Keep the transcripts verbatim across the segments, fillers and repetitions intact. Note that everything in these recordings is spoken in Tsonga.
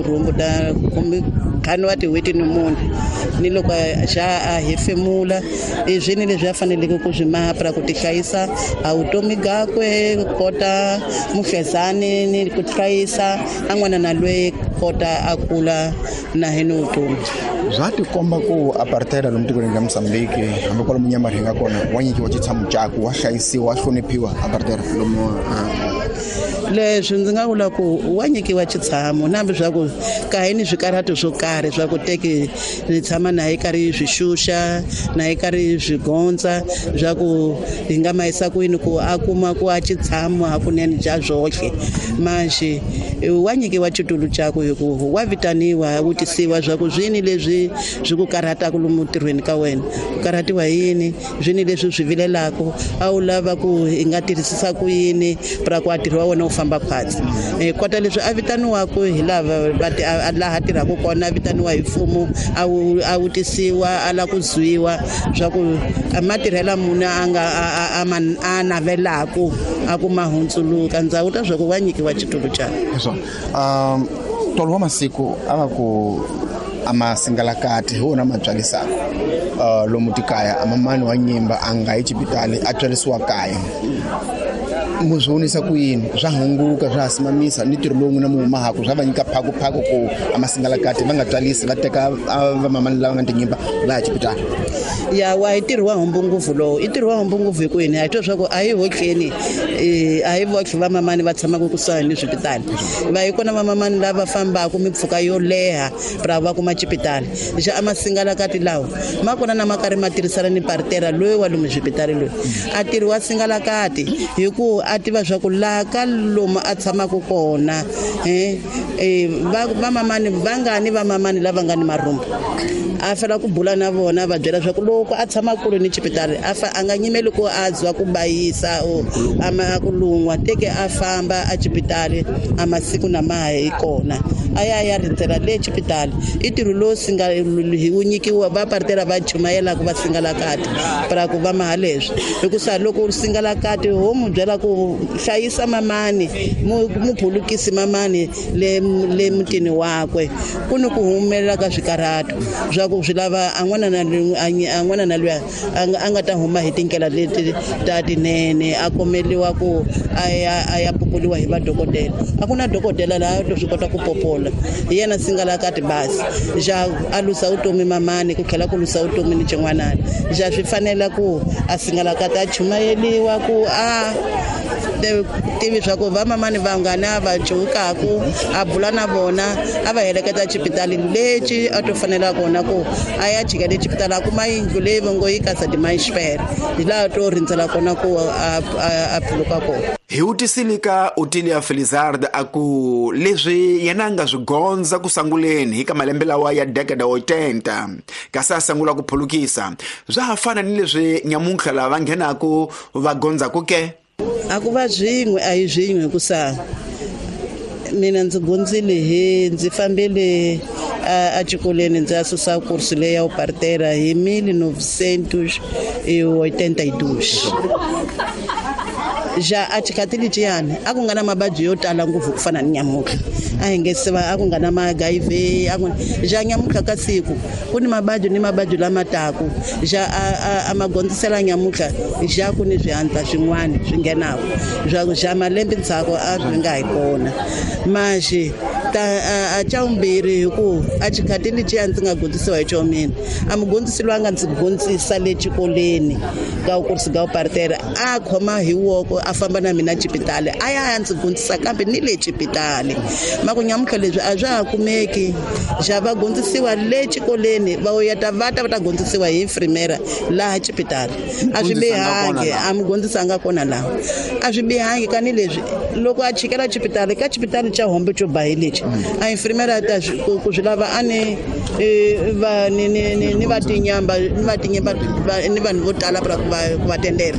Rhumbu ta kumbe ntlhanu wa tin'hweti ni mune ni loko xa a hefemula i swini leswi a faneleke ku swi maha ku tihlayisa a vutomi byakwe kota muhlezani ni ku hlayisa a n'wana na loyi kota a kula na hi ni vutomi. Bya tikomba ku apartheid lomu tikweni ra Mozambique hambi kwalomu Nyamarhi nga kona wa nyikiwa xitshamo caku wa hlayisiwa wa hloniphiwa apartheid lomu. Leswi ndzi nga vula ku wa nyikiwa xitshamo na hambi swa ku ka hi ni swikarhato swo karhi swa ku teki ni tshama na hi karhi swi xuxa na hi karhi swi gondza swa ku hi nga ma yisa kwini ku a kuma ku a xitshamo hakunene bya zwohle manjhe wa nyikiwa xitulu xakwe hi ku wa vitaniwa vutisiwa swa ku swini leswi swi ku karhataka lomu ntirhweni ka wena ku karhatiwa hi yini swini leswi swi vilelaka a wu lava ku hi nga tirhisisa ku yini pra ku a ntirho wa wena wu famba khwatsi. Kota leswi a vitaniwaka hi lava va laha tirhaka kona a vitaniwa hi mfumo a wu a vutisiwa a lava ku zwiwa swa ku matirhela munhu a nga a a navelaka a ku ma hundzuluka ndza wuta swa ku wa nyikiwa xitulu xa. Um tolo wa masiku a va ku a masingalakati hi wona ma tswalisaka uh lomu tikaya a mamani wa nyimba a nga yi xipitali a tswarisiwa kaya. Mu swi vonisa ku yini swa hunguka swa simamisa ni ntirho lowu n'wina mu humahaku swa va nyika phakuphaku ku a masingalakati va nga tswalisi va teka vamamani lava nga tinyimba va ya xipitali. Ya wa hi ntirho wa humbu ngopfu lowu i ntirho wa humbu ngopfu hi ku yini a hi twa swa ku a hi hotleni a hi votlhe vamamani va tshamaka kusuhani ni swipitali va hi kona vamamani lava fambaka mimpfhuka yo leha ra va kuma xipitali xa a masingalakati lawa ma kona na ma karhi ma tirhisana ni partera loyi wa lomu swipitali loyi a tirhi wa singalakati hi ku a tiva swa ku laha ka lomu a tshamaka kona eh va vamamani vangani vamamani lava nga ni marhumbu a fela ku bula na vona va byela swa ku loko a tshama kule ni xipitali a fa a nga nyimeli ku a zwa ku bayisa o ama ku lun'wa teke a famba a xipitali a masiku na ma hi kona a ya ya rindzela le xipitali i ntirho lowu singa hi wu nyikiwa va partera va chumayelaka va singalakati pra ku va maha leswi hikusa loko u singalakati ho mu byela ku hlayisa mamani mu phulukisi mamani le le mutini wakwe ku ni ku humelela ka swikarhato swa ku swi lava a n'wana na a n'wana na luya a nga ta huma hi tindlela leti ta tinene a komeliwa ku a ya a ya populiwa hi vadokodela a ku na dokodela laha to swi kota ku popola hi yena singalakati basi xa a lusa vutomi mamani ku tlhela ku lusa vutomi ni xin'wanana xa swi fanela ku a singalakati a chumayeliwa ku a tivi swa ku vamamani vangani va cukaku a bula na vona a va heleketa xipitali lexi a to fanela kona ku a ya chika le xipitali a kuma yindlu leyi va ngo yi kasa dimanxipere hi laha to rindzela kona ku a a phuluka kona. Hi vutisile ka Otilia Felizard a ku leswi yena a nga swi gondza ku sanguleni hi ka malembe lawa ya decade wa ochenta kasi a sangula ku phulukisa swa ha fana ni leswi nyamuntlha lava nghenaku va gondzaku ke. A ku va swin'we a hi swin'we hikusa mina ndzi gondzile hi ndzi fambile a xikolweni ndzi ya susa kursi leyi ya upartera hi mil novecentos e oitenta e dois. Ja a xikhathi lexiyani a ku nga na mavabyi yo tala ngopfu ku fana ni nyamuntlha a hi nge se va a ku nga na ma H I V a ku ja nyamuntlha ka siku ku ni mavabyi ni mavabyi lama taku ja a a ma gondzisela nyamuntlha ja ku ni swihandla swin'wana swi nghenaka swa ku ja malembe ndzhaku a swi nga hi kona manjhe ta a xa vumbirhi hi ku a xikhathi lexiya ndzi nga gondzisiwa hi xo mina a mugondzisi loyi a nga ndzi gondzisa le xikolweni ka kursi ka upartera a khoma hi woko a famba na mina xipitali a ya ya ndzi gondzisa kambe ni le xipitali ma ku nyamuntlha leswi a swa ha kumeki xa va gondzisiwa le xikolweni va yeta va ta va ta gondzisiwa hi infrimera laha xipitali a swi bihangi a mugondzisi a nga kona laha a swi bihangi kani leswi loko a chikela xipitali ka xipitali xa hombe xo ba hi lexi a infrimera ta ku swi lava a ni va ni ni ni ni va tinyamba ni va tinyamba ni vanhu vo tala ku va ku va tendela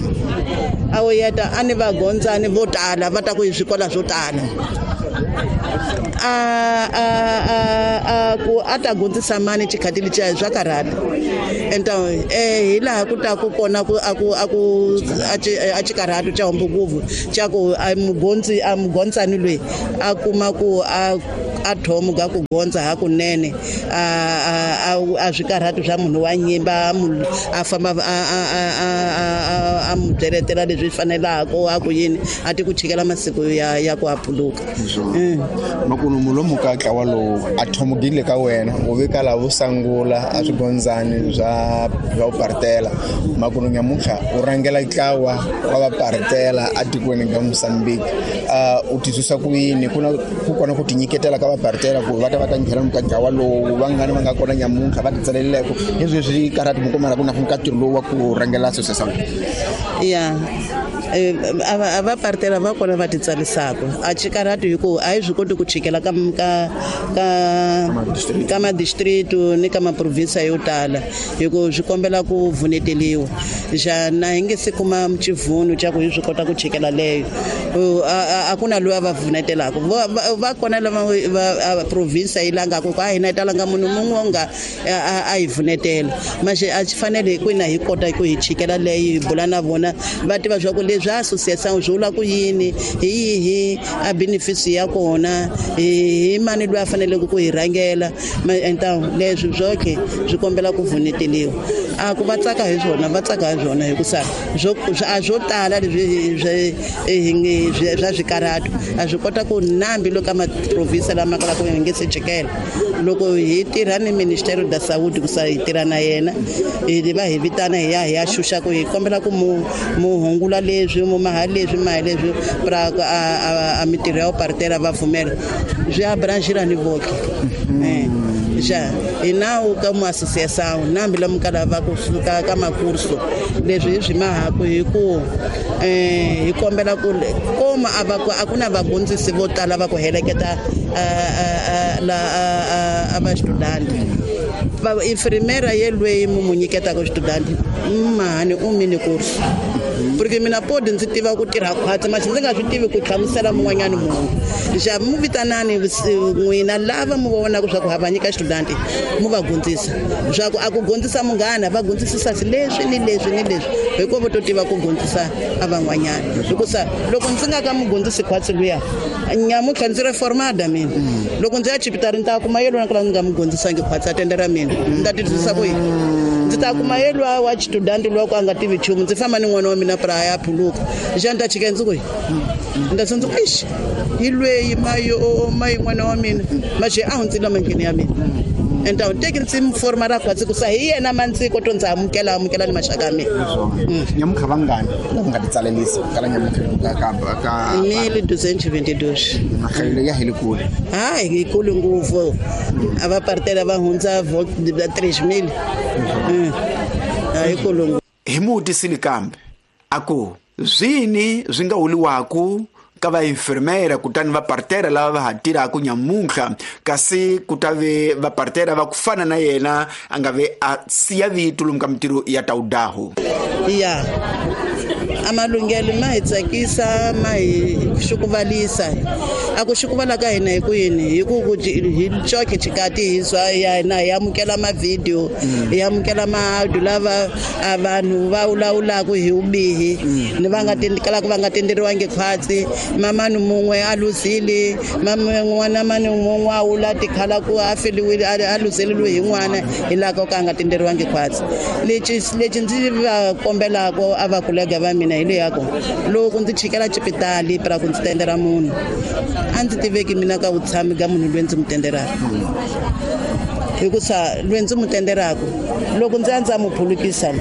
a wo yeta a ni va gondzani vo tala va ta ku hi swikola swo tala a a a a ku a ta gondzisa mani xikhathi lexiya swa karhata enta eh hi laha ku ta ku kona ku a ku a ku a xikarhato xa hombo ngopfu xa ku a mugondzi a mugondzani loyi a kuma ku a a thomo ga ku gondza hakunene a a a swikarhati swa munhu wa nyimba a famba a a a a mu byeletela leswi fanelaka a ku yini a ti ku chikela masiku ya ya ku aphuluka. Makunu mulomu ka ntlawa lowu a thomogile ka wena u veka lava vo sangula a swigondzani swa swa partela makunu nyamuntlha u rhangela ntlawa wa va partela atikweni ka Mozambique u titwisa ku yini ku na ku kona ku tinyiketela ka va partela ku va ta va ta nghena ka ntlawa lowu vangani va nga kona nyamuntlha va titsaleleko leswi swi karhati mi kumela ku na ka ntirho lowu wa ku rhangela association ya a va partela va kona va titsalisaka a chikarhati hi ku a hi swi koti ku chikela ka ka ka ka ma-district ni ka ma-province yo tala hi ku swi kombela ku vuneteliwa xana hi nge se kuma xivhuno xa ku hi swi kota ku chikela leyo a ku na loyi a va vunetelaka va kona lava va province yi langaka ku a hina yi talanga munhu mun'we nga a hi vunetela manje a swi fanele hi kwina hi kota ku hi chikela leyi hi bula na vona va tiva swa ku leswi association swi vula ku yini hi yihi a benefits ya kona hi mani loyi a faneleke ku hi rhangela enta leswi swoke swi kombela ku vuneteliwa a ku va tsaka hi swona va tsaka hi swona hikusa swo a swo tala leswi swi swa swikarhato a swi kota ku nambi loko ma-province lama kalaka hi nge se chikela loko hi tirha ni Ministério da Saúde ku sa hi tirha na yena hi va hi vitana hi ya hi ya xuxa ku hi kombela ku mu mu hungula leswi mu maha leswi maha leswi pra a a mitirho ya partera va pfumela swi abrangira ni voke ja hi nawu ka mu association nambi lomu ka lava ku suka ka makurso leswi hi swi mahaku hi ku eh hi kombela ku koma a va a ku na vagondzisi vo tala va ku heleketa la a va student va infirmera yelweyi mu mu nyiketaka student mahani u mini kurso porque mina podi ndzi tiva ku tirha khwatsi manje ndzi nga swi tivi ku hlamusela mun'wanyana munhu xa mu vitanani n'wina lava mu vonaka swa ku ha va nyika student mu va gondzisa swa ku a ku gondzisa munghana va gondzisisa leswi ni leswi ni leswi hikuva vo to tiva ku gondzisa a van'wanyana hikusa loko ndzi nga ka mu gondzisi khwatsi luya nyamuntlha ndzi reformada mina loko ndzi ya chipitari ni ta kuma yelona ku la ndzi nga mu gondzisangi khwatsi a tendera mina ndzi ta titwisisa ku yini ndzi ta kuma yelwa wa student loko a nga tivi nchumu ndzi famba ni n'wana wa mina pra ya phuluka xa ni ta chika ndzi ku nda ndzi ku ixi hi lweyi mayo mayi n'wana wa mina maxe a hundzile mangheni ya mina enta u teki ndzi forma ra khwatsi ku sa hi yena mandziko to ndzi amukela amukela ni maxaka ya mina nyamuntlha vangani lava nga titsalelisa kala nyamuntlha ka ka ka mille duzentos vinte e dois mahlayelo ya hi le kule hayi hi kule ngopfu a va partela va hundza três mil a hi kule ngopfu hi mutisile kambe a ku zwini swi nga huliwaku ka va infirmera kutani va partera lava va ha tirhaka nyamuntlha kasi ku ta ve va partera va ku fana na yena a nga ve a siya vito lomu ka mitirho ya tawudaho ya a malunghelo ma hi tsakisa ma hi xukuvalisa a ku xukuvala ka hina hi ku yini hi ku hi coke xikati hi swa ya hina hi amukela mavhidiyo hi amukela maaudio lava a vanhu va vulavulaka hi vubihi ni va nga kalaka va nga tenderiwangi khwatsi mamani mun'we a luzile n'wana mani mun'we a wula tikhala ku a feliwile a luzeleliwe hi n'wana hi laha ka a nga tenderiwangi khwatsi lexi lexi ndzi va kombelaka a va kolega va mina hi leyaku loko ndzi chikela xipitali pra ku ndzi tendera munhu a ndzi tiveki mina ka vutshami ka munhu loyi ndzi mu tenderaka hikusa loyi ndzi mu tenderaka loko ndzi ya ndzi ya mu phulukisa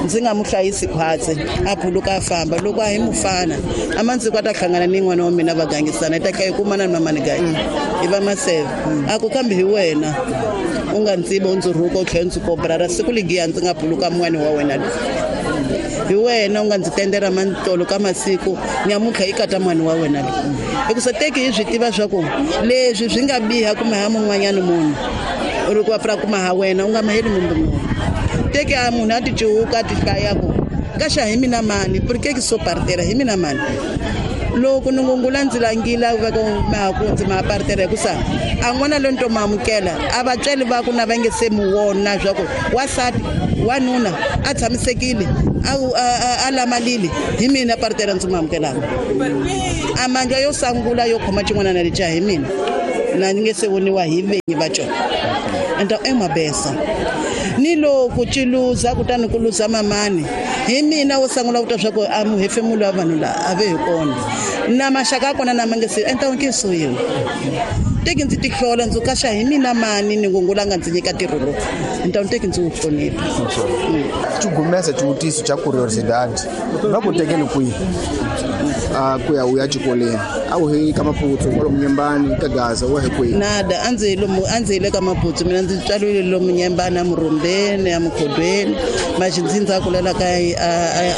ndzi nga mu hlayisi khwatsi a phuluka a famba loko a hi mufana a mandziko a ta hlangana ni n'wana wa mina va gangisana hi ta tlha hi kumana ni mamani gayi hi va maseve a ku kambe hi wena u nga ndziva u ndzi rhuka u tlhela ndzi kobrara siku ligiya ndzi nga phuluka mun'wani wa wena loyi hi wena u nga ndzi tendera mantolo ka masiku nyamuntlha yi kata n'wana wa wena loyi hikusa teki hi swi tiva swa ku leswi swi nga biha kumbe ha mun'wanyana munhu u ri ku va pra kuma ha wena u nga maheli mumbe munhu teki a munhu a ti cuhuka a ti hlaya ku kaxa hi mina mani porque ke so partera hi mina mani loko ni ngungula ndzi langila va ku mahaku ndzi ma partera hikusa a n'wana loyi ni to ma amukela a vatswari va ku na va nge se mu vona swa ku wasati wanuna a tshamisekile a a lamalile hi mina partera ndzi mu amukelaka a mandla yo sangula yo khoma xin'wana na lexa hi mina Na ni nge se voniwa hi venyi va cona. Então é uma benção. Ni loko ci luza kutani ku luza mamani hi mina wo sungula ku twa swa ku a muhefemulo wa vanhu la a ve hi kona na maxaka ya kona na ma nge se então ke suyiwa teki ndzi tihlola ndzi kaxa hi mina mani ni ngungula nga ndzi nyika ntirho lowu então teki ndzi wu hlonipha. Xigumesa xivutiso xa curiosidade va ku tekeni kwihi a ku ya u ya xikolweni a wu hi ka Maputo kwalomu Nyembani ka Gaza wa hi kwihi? Nada a ndzi hi lomu a ndzi hi le ka Maputo mina ndzi tswariwile lomu Nyembani a Murumbeni a Mukhodweni maxi ndzi ndza kulela ka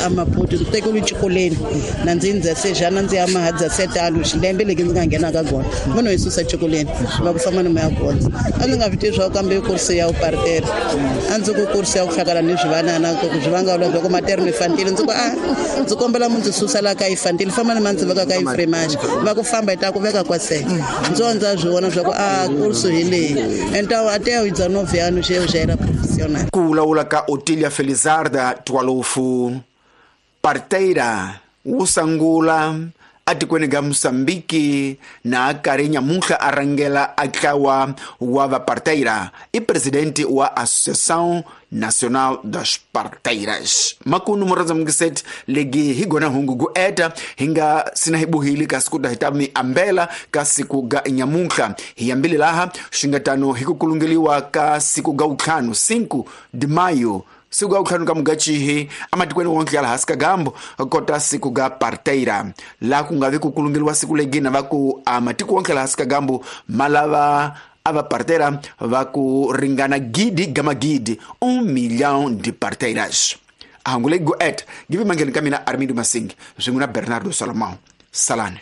a Maputo ndzi tekeriwe xikolweni na ndzi ndza sejana ndzi ya mahadza setalo xilembe leki ndzi nga nghena ka kona munhu hi susa xikolweni va ku famba ni moya gondza a ndzi nga swi tivi swa ku kambe kursi ya upartera a ndzi ku kursi ya ku hlakala ni swivanana ku swi vanga vula ku materno infantile ndzi ku a ndzi kombela mu ndzi susa la ka infantile famba ni ma ndzi veka ka infrimage va ku famba hi ta ku veka kwase ndzo ndza swi vona swa ku a kursi hi leyi então até os dezenove anos eu já era profissional. Ku vulavula ka Otilia Felizarda Twalofu parteira wo sungula atikweni ga Mozambique na karhi nyamuntlha a rhangela a ntlawa wa vaparteira i presidente wa Associação Nacional das Parteiras. Makunu murhandza mungiseti legi hi gona hungu gu eta hi nga sina hi buhili kasi ku ta hi ta mi ambela ka siku ga nyamuntlha hi yambile laha swi nga tano hi ku kulungeliwa ka siku ga wutlhanu cinco de maio siku ga wutlhanu ka mugachihi amatikweni wonke ya laha hansi ka gambo kota siku ga parteira laha ku nga vi ku kulungeliwa siku legina va ku amatiko wonke laha hansi ka gambo ma lava a va parteira va ku ringana gidi gama gidi um milhão de parteiras. A hangu leyi gu et give mangheni ka mina Armindo Masingi swin'we na Bernardo Salomão. Salane.